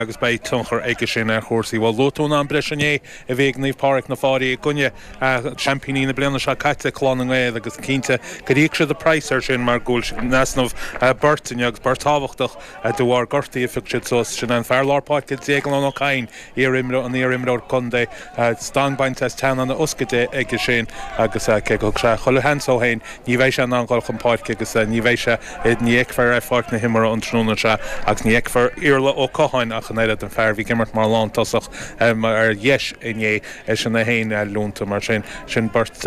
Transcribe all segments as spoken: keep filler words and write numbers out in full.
Agus beidh tionchar aige sin ar chúrsaí. Bhuel, luaigh tú an am breise inné a bhí ag Naomh Pádraig na Fáirí i gcoinne seaimpíní na bliana seo caite, Clann na nGael, agus cinnte gur íoc siad an praghas air sin mar go bhfuil siad in easnamh beirt inniu agus beirt tábhachtach de bharr gortaithe a phioc siad suas. Sin an fear lár páirce Déaglán Ó Cadhain, iar-imreoir an iar-imreoir contae, stanc bainte as teannán a ioscaide aige sin agus cé go thug sé chuile sheans dó féin, ní bheidh sé in ann dul chun páirce agus ní bheidh sé, ní fheicfear ar pháirc na himeartha an tráthnóna seo agus ní fheicfear Iarla Ó Catháin ach an oiread, an fear a bhí ag imirt mar lántosach ar dheis inné, eisean é féin leonta. Mar sin, sin beirt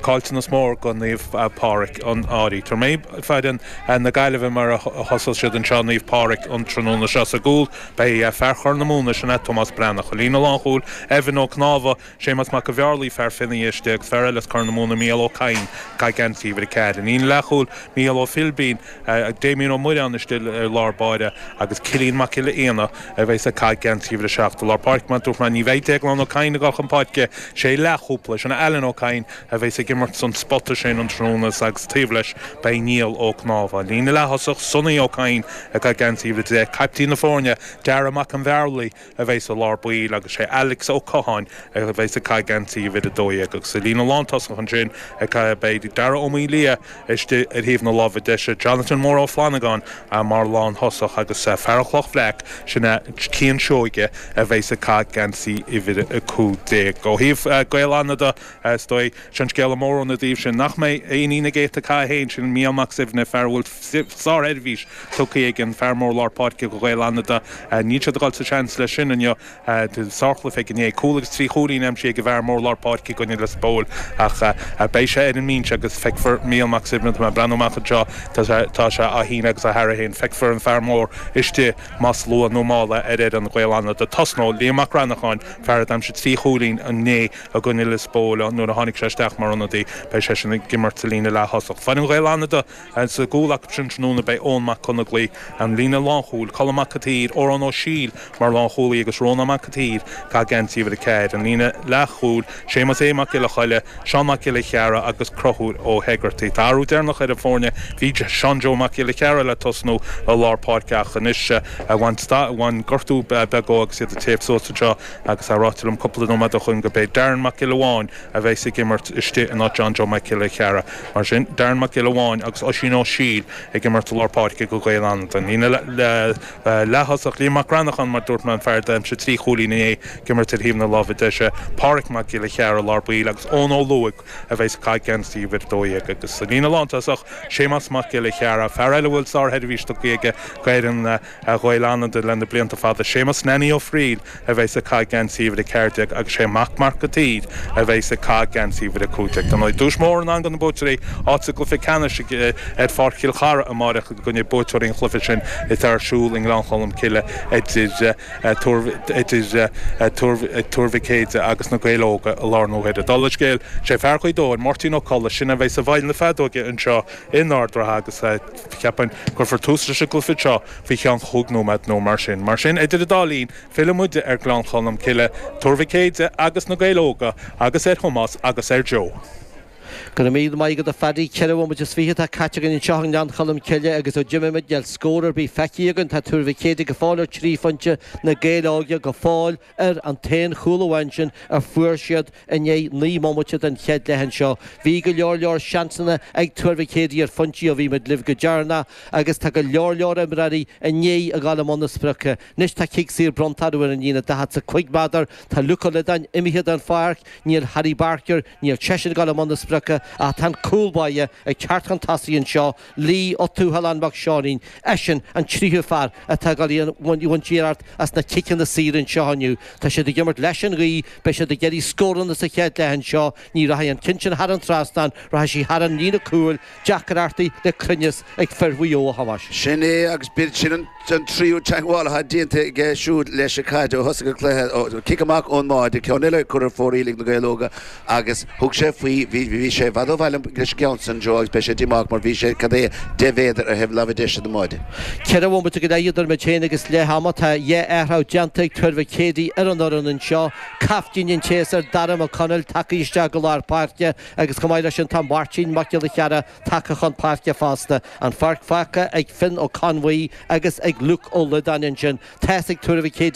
caillteanas mór go Naomh Pádraig an Fhairche. Tabharfaidh mé foireann na Gaillimhe mar a thosós siad anseo, Naomh Pádraig an tráthnóna seo. Sa gcúl, beidh fear Chorr na Móna, sin é Tomás Breathnach. I líne lánchúil, Evan Ó Cnámha, Séamas Mac an Bhearlaí, fear Fionnay istigh, agus fear eile as Corr na Móna, Mícheál Ó Cadhain, ag caitheamh geansaí uimhir a ceathair. I líne leathchúil, Mícheál Ó Philbín, Damien Ó Muireáin istigh ar lár báire agus Cillian Mac Giolla Éanna a bheas ag caitheamh geansaí uimhir a seacht. I lár páirce, mar a dúirt mé, ní bheidh Déaglán Ó Cadhain ag dul chun páirce, sé leathchúpla, sin Alan Ó Cadhain a bheas ag imirt san spota sin an tráthnóna agus taobh leis beidh Niall Ó Cnámha. Líne leath-thosach, Sonny Ó Cadhain ag caitheamh geansaí uimhir a deich, caiptín na foirne, Dara Mac an Bhearlaí a bheas i lár baill agus sé Alex Ó Catháin a bheas ag caitheamh geansaí uimhir a dó dhéag. Agus sa líne lántosach ansin ag caitheamh beidh Dara Ó Maoildhia istigh ar thaobh na láimhe deise, Jonathan Mór Ó Flannagáin mar lántosach agus fear an Chloch Bhreac, sin é Cian Seoige a bheas ag caitheamh geansaí uimhir a cúig déag. Ó thaobh Gaeil Fhánada, is dóigh, sé an scéala mór óna dtaobh sin nach mbeidh éinní na gcéadta cath féin, sin Mícheál Mac Suibhne, fear a bhfuil sársheirbhís tugtha ag an fear mór lár páirce do Ghaeil Fhánada. Níl siad ag dul sa seans leis sin inniu. Sárchluiche aige inné, cúl agus trí chúilín aimsithe ag an bhfear mór lár páirce i gcoinne Lios Póil ach beidh sé ar an mbinse agus feicfear Mícheál Mac Suibhne, tá mé ag breathnú amach anseo, tá sé á shíneadh agus á tharraingt féin, feicfear an fear mór istigh más luath nó mall ar fhoireann Ghaeil Fhánada. Tosnóidh Liam Mac Reannacháin, fear a d'aimsigh trí chúilín inné i gcoinne Lios Póil nuair a tháinig sé isteach mar ionadaí, beidh seisean ag imirt sa líne leath-thosach. Foireann Ghaeil Fhánada sa gcúl acu sin tráthnóna beidh Eoin Mac Conaglaí, an líne lánchúil, Colm Mac an tSaoir, Odhrán Ó Siail mar lánchúlaí agus Rónán Mac an tSaoir ag caitheamh geansaí uimhir a ceathair, an líne leathchúil, Séamus A. Mac Giolla Choille, Seán Mac Giolla Chearra agus Conchúr Ó hEigeartaigh. Tá athrú deireanach ar an bhfoirne, bhí Seán Joe Mac Giolla Chearra le tosnú i lár páirce ach anois bhain gortú beag dó agus iad ag téamh suas anseo agus é ráite liom cúpla nóiméad ó shoin gurb é Darren Mac Giolla Bháin a bheas ag imirt istigh in áit John Joe Mac Giolla Chearra. Mar sin, Darren Mac Giolla Bháin agus Oisín Ó Siail ag imirt i lár páirce do Ghaeil Fhánada. Líne leath-thosach, Liam Mac Reannacháin, mar dúirt mé, an fear a d'aimsigh trí chúilín inné ag imirt ar thaobh na láimhe deise, Páraic Mac Giolla Chearra i lár baill agus Eoin Ó Lúaigh a bheas ag caitheamh geansaí uimhir a dó dhéag. Agus sa líne lántosach, Séamas Mac Giolla Chearra, fear eile a bhfuil sársheirbhís tugtha aige d'fhoireann Ghaeil Fhánada le na blianta fada, Séamas Nanny Ó Frighil a bheas ag caitheamh geansaí uimhir a ceathair déag agus sé Mac Marc an tSaoir a bheas ag caitheamh geansaí uimhir a cúig déag. Dar ndóigh, duais mhór i ndán do na buaiteoirí, áit sa gcluiche ceannais ar Pháirc Chill Chartha amáireach i gcoinne buaiteoirí an chluiche sin atá ar siúl i nGleann Cholm Cille idir Tuar Mhic Éadaigh agus na Gaeil Óga i lár na huaire. Dála an scéil, sé fear Ghaoth Dobhair, Máirtín Ó Colla, sin a bheas i bhfeighil na feadóige anseo in Ard an Rátha agus cheapfainn cuirfear tús leis an gcluiche seo faoi cheann chúig nóiméad nó mar sin. Mar sin, idir an dá linn, fillfidh muid ar Ghleann Cholm Cille, Tuar Mhic Éadaigh agus na Gaeil Óga agus ar Thomás agus ar Joe. Go raibh míle maith agat a Phaddy. Ceithre bhomaite is fiche atá caite againn anseo i nGleann Cholm Cille agus ó d'imigh muid níl scór ar bith feicthe againn. Tá Tuar Mhic Éadaigh go fóill ar trí phointe, na Gaeil Óga go fóill ar an t-aon chúl amháin sin a fuair siad i ndiaidh naoi mbomaite den chéad leath anseo. Bhí go leor leor seansanna ag Tuar Mhic Éadaigh ar phointí ó bhí muid libh go deireanach agus tá go leor leor imreoirí i ndiaidh a ghabháil i mbun na sprice. Anois tá cic saor bronnta orthu ar an líne daichead 's a cúig méadar. Tá Luke Ó Loideáin imithe den pháirc, níl Harry Barker, níl seisean ag gabháil i mbun na sprice ach tá an cúl báire ag teacht chun tosaigh anseo, Lee Ó Tuathaláin Mac Seáinín, eisean an tríú fear atá ag gabháil a bhaint iarracht as na ciceanna saora anseo inniu. Tá siad ag imirt leis an ghaoth, beidh siad ag iarraidh scóranna sa chéad leath anseo, ní rachaidh an ceann sin thar an trasnán, rachaidh sí thar an líne cúil, deacrachtaí le cruinneas ag fir Mhaigh Eo, a Thomáis. Sin é agus b'fhéidir sin an tríú teagmháil atá déanta aige siúd leis an chaid ó thosaigh an cluiche. Cic amach ón mbáide, ceann eile curtha ar fóraoil ag na Gaeil Óga agus thug sé faoi, bhí sé sé i bhfad ó bhaile leis an gceann san Joe agus beidh sé díomách mar bhí sé cad é deich mhéadar ar thaobh láimhe deise den mbáide. Ceithre bhomaite go leith idir muid féin agus leath ama. Tá dhá athrú déanta ag Tuar Mhic Éadaigh ar an fhoireann anseo. Caiftín an tséasúir Dara Mac Conaill tagtha isteach go lár páirce agus chomh maith leis sin tá Máirtín Mac Giolla Chearra tagtha chun páirce fosta. An pháirc fágtha ag Finn Ó Conbhuí agus ag Luke Ó Loideáin ansin. Tá's ag Tuar Mhic Éadaigh.